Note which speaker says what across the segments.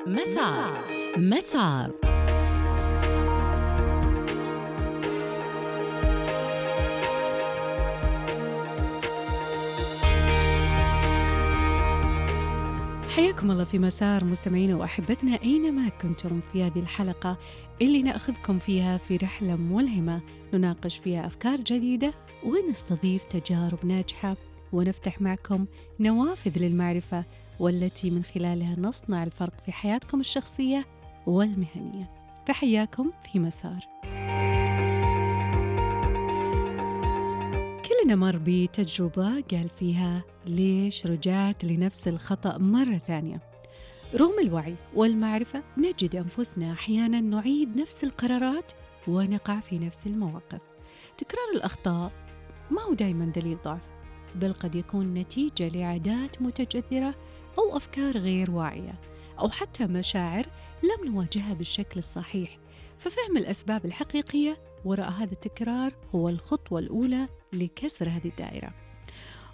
Speaker 1: مسار. مسار. حياكم الله في مسار مستمعينا وأحبتنا أينما كنتم في هذه الحلقة اللي نأخذكم فيها في رحلة ملهمة نناقش فيها أفكار جديدة ونستضيف تجارب ناجحة ونفتح معكم نوافذ للمعرفة والتي من خلالها نصنع الفرق في حياتكم الشخصية والمهنية. فحياكم في مسار. كلنا مر بتجربة قال فيها ليش رجعت لنفس الخطأ مرة ثانية؟ رغم الوعي والمعرفة نجد أنفسنا أحيانا نعيد نفس القرارات ونقع في نفس المواقف. تكرار الأخطاء ما هو دائما دليل ضعف، بل قد يكون نتيجة لعادات متجذرة أو أفكار غير واعية أو حتى مشاعر لم نواجهها بالشكل الصحيح. ففهم الأسباب الحقيقية وراء هذا التكرار هو الخطوة الأولى لكسر هذه الدائرة،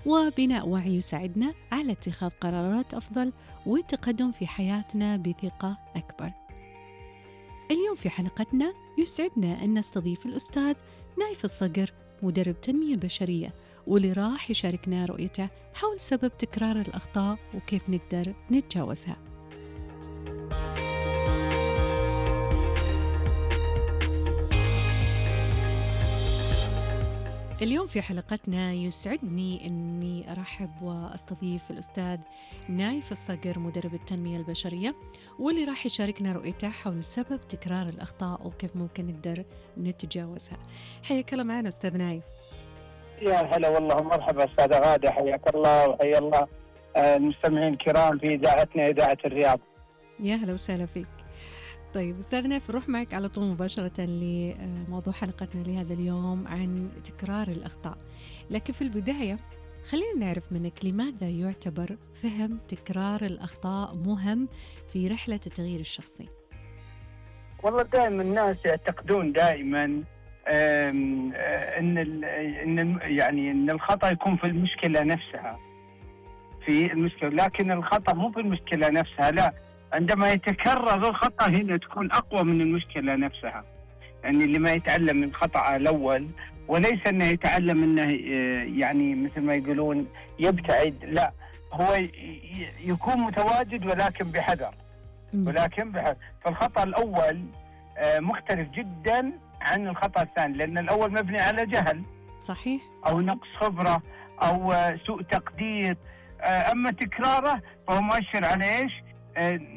Speaker 1: وبناء وعي يساعدنا على اتخاذ قرارات أفضل والتقدم في حياتنا بثقة أكبر. اليوم في حلقتنا يسعدنا أن نستضيف الأستاذ نايف الصقر، مدرب تنمية بشرية، واللي راح يشاركنا رؤيته حول سبب تكرار الأخطاء وكيف نقدر نتجاوزها. اليوم في حلقتنا يسعدني أني أرحب وأستضيف الأستاذ نايف الصقر، مدرب التنمية البشرية، واللي راح يشاركنا رؤيته حول سبب تكرار الأخطاء وكيف ممكن نقدر نتجاوزها. حياك الله معنا أستاذ نايف.
Speaker 2: يا هلا والله، مرحبا أستاذة غادة، حياك الله وحيا الله المستمعين الكرام في إذاعتنا إذاعة الرياض.
Speaker 1: يا هلا وسهلا فيك. طيب أستاذ نايف، نروح معك على طول مباشرة لموضوع حلقتنا لهذا اليوم عن تكرار الأخطاء. لكن في البداية خلينا نعرف منك لماذا يعتبر فهم تكرار الأخطاء مهم في رحلة التغيير الشخصي؟
Speaker 2: والله دائما الناس يعتقدون دائما إن الخطأ يكون في المشكلة نفسها، في المشكلة، لكن الخطأ مو في المشكلة نفسها، لا، عندما يتكرر الخطأ هنا تكون أقوى من المشكلة نفسها. يعني اللي ما يتعلم من خطأه الأول، وليس أنه يتعلم أنه يعني مثل ما يقولون يبتعد، لا، هو يكون متواجد ولكن بحذر. فالخطأ الأول مختلف جدا عن الخطأ الثاني، لأن الأول مبني على جهل،
Speaker 1: صحيح،
Speaker 2: أو نقص خبرة أو سوء تقدير. أما تكراره فهو مؤشر على إيش؟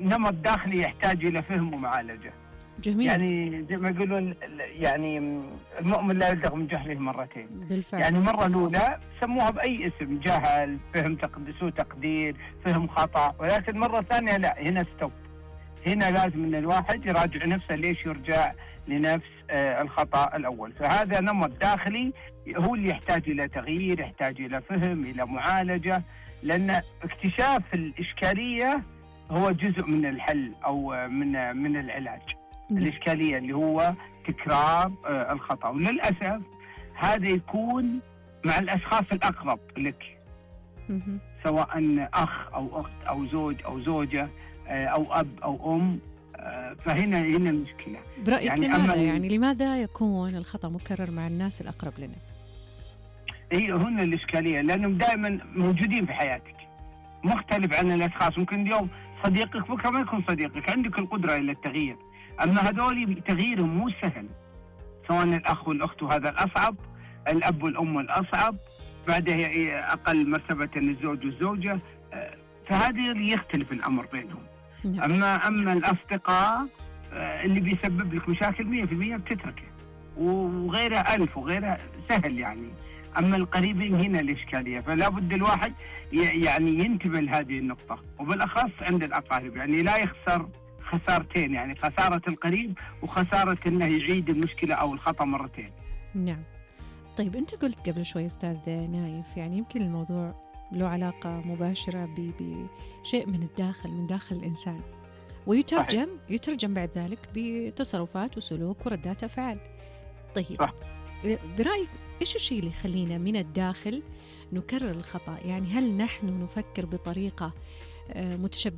Speaker 2: نمط داخلي يحتاج إلى فهم ومعالجة.
Speaker 1: جميل.
Speaker 2: يعني زي ما يقولون، يعني المؤمن لا يلدغ من جهله مرتين.
Speaker 1: بالفعل.
Speaker 2: يعني مرة الأولى سموها بأي اسم، جهل، فهم سوء تقدير، فهم خطأ، ولكن مرة ثانية لا، هنا ستوب، هنا لازم أن الواحد يراجع نفسه ليش يرجع لنفس الخطأ الأول. فهذا نمط داخلي هو اللي يحتاج إلى تغيير، يحتاج إلى فهم، إلى معالجة، لأن اكتشاف الإشكالية هو جزء من الحل أو من العلاج. الإشكالية اللي هو تكرار الخطأ، وللأسف هذا يكون مع الأشخاص الأقرب لك، سواء أخ أو أخت أو زوج أو زوجة أو أب أو أم. فهنا المشكلة.
Speaker 1: برأيك يعني لماذا يكون الخطأ مكرر مع الناس الأقرب لنا؟
Speaker 2: هي هنا الإشكالية، لأنهم دائما موجودين في حياتك، مختلف عن الأشخاص. ممكن اليوم صديقك بكرة ما يكون صديقك، عندك القدرة إلى التغيير. أما هذول تغييرهم مو سهل، سواء الأخ والأخت، وهذا الأصعب، الأب والأم الأصعب، بعدها أقل مرتبة الزوج والزوجة. فهذه اللي يختلف الأمر بينهم. أما الأصدقاء اللي بيسبب لك مشاكل 100% بتتركه، وغيرها ألف، وغيرها سهل يعني. أما القريبين هنا الإشكالية، فلا بد الواحد يعني ينتبه لهذه النقطة، وبالأخص عند الأقارب، يعني لا يخسر خسارتين، يعني خسارة القريب وخسارة أنه يعيد المشكلة أو الخطأ مرتين.
Speaker 1: نعم. طيب أنت قلت قبل شوي أستاذ نايف، يعني يمكن الموضوع له علاقة مباشرة بشيء من الداخل، من داخل الإنسان، ويترجم بعد ذلك بتصرفات وسلوك وردات أفعال. طيب صح. برأيك إيش الشيء اللي يخلينا من الداخل نكرر الخطأ؟ يعني هل نحن نفكر بطريقة متشبثة